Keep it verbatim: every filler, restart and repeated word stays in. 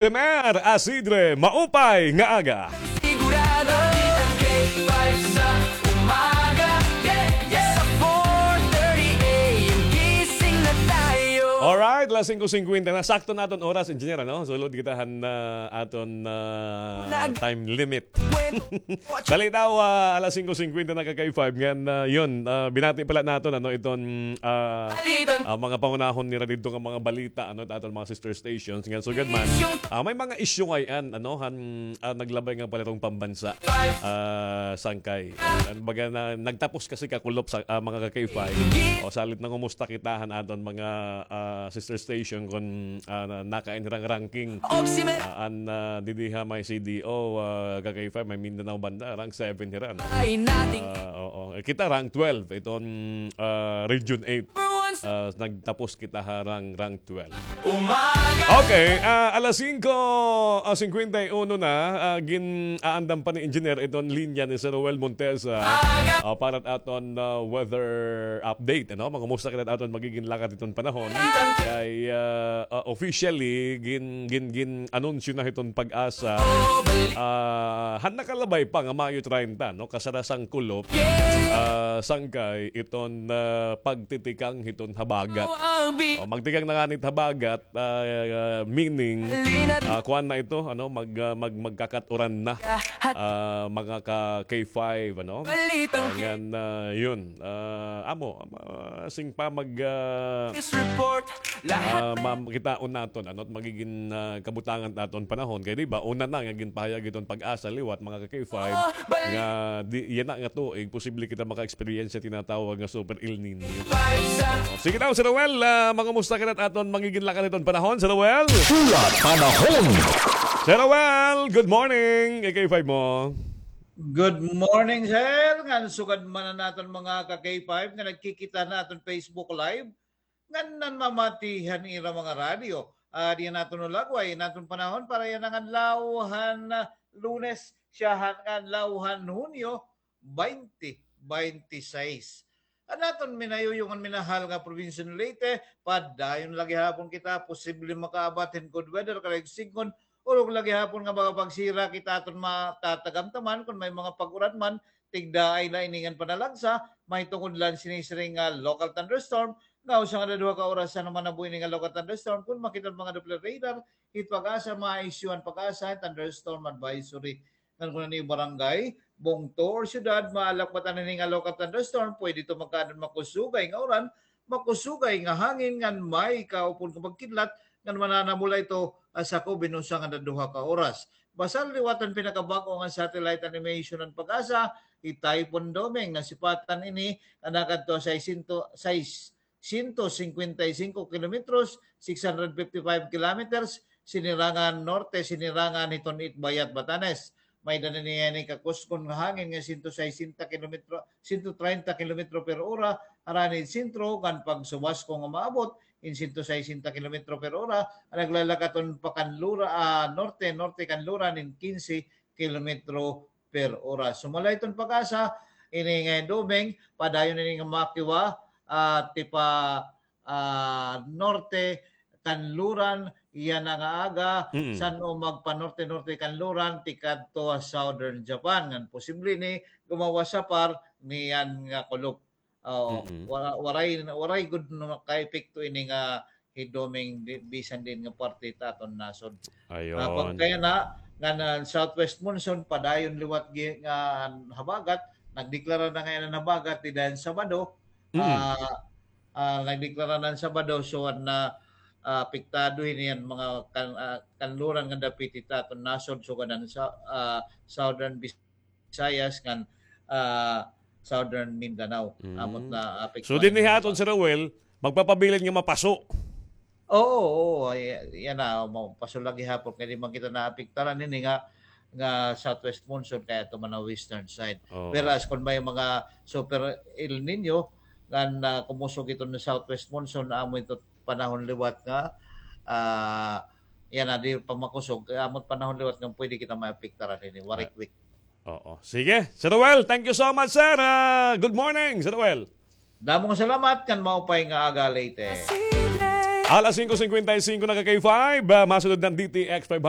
Mer Asidre, maupay nga aga. Sigurado, K five sa umaga. Yeah, yeah. Sa four thirty A M, gising na tayo. Alright, alas singko singkwenta na. Sakto na aton oras, engineer, ano? Sulod kita han, ah, aton, ah, time limit. Dali daw, ah, alas singko singkwenta na ka K five ngan, ah, yun, ah, binati pala naton, ano, iton, ah, ah, mga pangunahon nira didto nga mga balita, ano, aton mga sister stations ngan sugad man. Ah, may mga isyu ngay-an, ano, han, ah, naglabay nga pala itong pambansa, ah, sangkay. An baga na, nagtapos kasi kakulop sa, ah, mga ka K five. O, salit nangumusta kita han aton mga, ah, sister station kon, ah, na-, nakain hirang ranking. Ah, an, ah, didi ha may C D O, ah, ka K five, may Mindanao Banda, rank seven hira, no? Ah, oo. Eh, kita rank twelve, iton, ah, Region eight. Ah, nagtapos kita ha rank, rank twelve. Okay, ah, alas singko, ah, singkwenta y uno na, ah, gin-aandam pa ni Engineer iton linya ni Sir Roel Montesa, ah, para aton, ah, weather update, ano? Mangumusta kita aton magigin lakad iton panahon. Kay, ah, ah, officially, gin-, gin-, gin-anunsyo na hiton PAGASA, ah, han nakalabay pa nga Mayo treinta, no? Kasarasang kulop, ah, sangkay iton, ah, pagtitikang hiton habagat. O, magtikang na ngani it habagat, ah, ah, meaning, ah, kuan na ito, ano, mag-, ah, mag-, magkakat-uran na, ah, mga ka K five, ano? Ah, ngan, ah, yun, ah, amo, ah, sing pa mag, ah, ah, ma-, kitaon naton, ano, it magigin, ah, kabutangan naton panahon. Kay di ba, una na nga ginpahayag iton PAGASA liwat, mga ka K five, nga di, yana nga tuig, posible kita maka-experience sa tinatawag nga Super El Niño. O, sige daw, Sir Roel, ah, mangumusta kita aton magigin lakad iton panahon, Sir Roel? Hulat panahon. Sir Roel, good morning. K five mo. Good morning, sir. Ngan sugad man an aton mga ka K five nga nagkikita han aton Facebook Live, ngan nanmamati han ira mga radyo. Ah, diyan naton ulagway, naton panahon para yana nga adlaw han, ah, Lunes, siya han, nga adlaw han Hunyo, baynte, baynte sais. An aton minayuyong ngan minahal nga probinsya ni Leyte, padayon la gihapon kita posible makaabat hin good weather, karuyag sidngon, urog la gihapon nga makapagsira kita aton matatagamtaman kon may mga pag-uran man, tigdaay la ini ngan panalagsa, mahitungod la sini siring nga local thunderstorm, nga usa ngada duha ka oras han manabo ini nga local thunderstorm, kon makita an mga Doppler radar, hit PAGASA, ma-issue an PAGASA thunderstorm advisory. Ngan kon an iyo barangay, bungto or syudad, maalakbatan hini nga local thunderstorm, pwede ito magkaada hin makusugay nga uran, makusugay nga hangin, ngan may kaupon nga pagkidlat, ngan mananamula ito, ah, sakob hin usa ngada duha ka oras. Basta liwat an pinakabag-o nga satellite animation han PAGASA, hi Typhoon Doming, nasipatan ini nga nakadto ha sais, sais, sento singkwenta y singko kilometros, six hundred fifty-five kilometers, sinirangan norte, sinirangan hiton Itbayat, Batanes. May-ada na niya ini kakusgon nga hangin nga sento saysenta kilometro, sento treinta kilometro per ora, harani sentro, ngan pagsubasko nga maabot hin sento saysenta kilometro per ora, an naglalakat-on pa Kanlura, ah, norte, norte Kanluran hin kinse kilometro per oras. Sumala hiton PAGASA, ini nga Doming, padayon ini nga makiwa, ah, tipa, ah, norte, Kanluran, yana nga aga, mm, san-o magpanorte-norte Kanluran, tikadto ha Southern Japan. Ngan posible ini gumawas ha par niyan nga kulop. Oo, mm-mm, wara-, waray, waray gud nakaepekto ini nga hi Doming di-, bisan diin nga parte hit aton nasod. Ayon. Ah, pagkayana, ngan an southwest monsoon, padayon liwat gi-, nga habagat, nagdeklara na ngay-an an habagat dida han Sabado, mm, ah, ah, nagdeklara na han Sabado, so an, ah, apektado hini an mga kan-, ah, kanluran nga dapit hit aton nasod, sugad han sa, ah, Southern Visayas ngan, ah, Southern Mindanao. Mm. Amo it naapektuhan. So, dinhi ha aton, Sir Roel, magpapabilin nga mapaso. Oo, oo, ay, yana, mapaso la gihapon kay di man kita naapektaran hini nga, nga southwest monsoon kay adto man ha western side. Oo. Whereas kon may mga super El Niño nga, ah, kumusog iton southwest monsoon, amo ito panahon liwat nga, ah, yana, di pa makusog, amo it panahon liwat nga pwede kita maapektaran hini, waray quick. Oo. Sige. Sir Roel, thank you so much, sir. Ah, good morning, Sir Roel. Damo nga salamat, ngan maupay nga aga, Leyte. Alas singko singkwenta y singko na ka K five, ah, masunod na an D T X five hundred.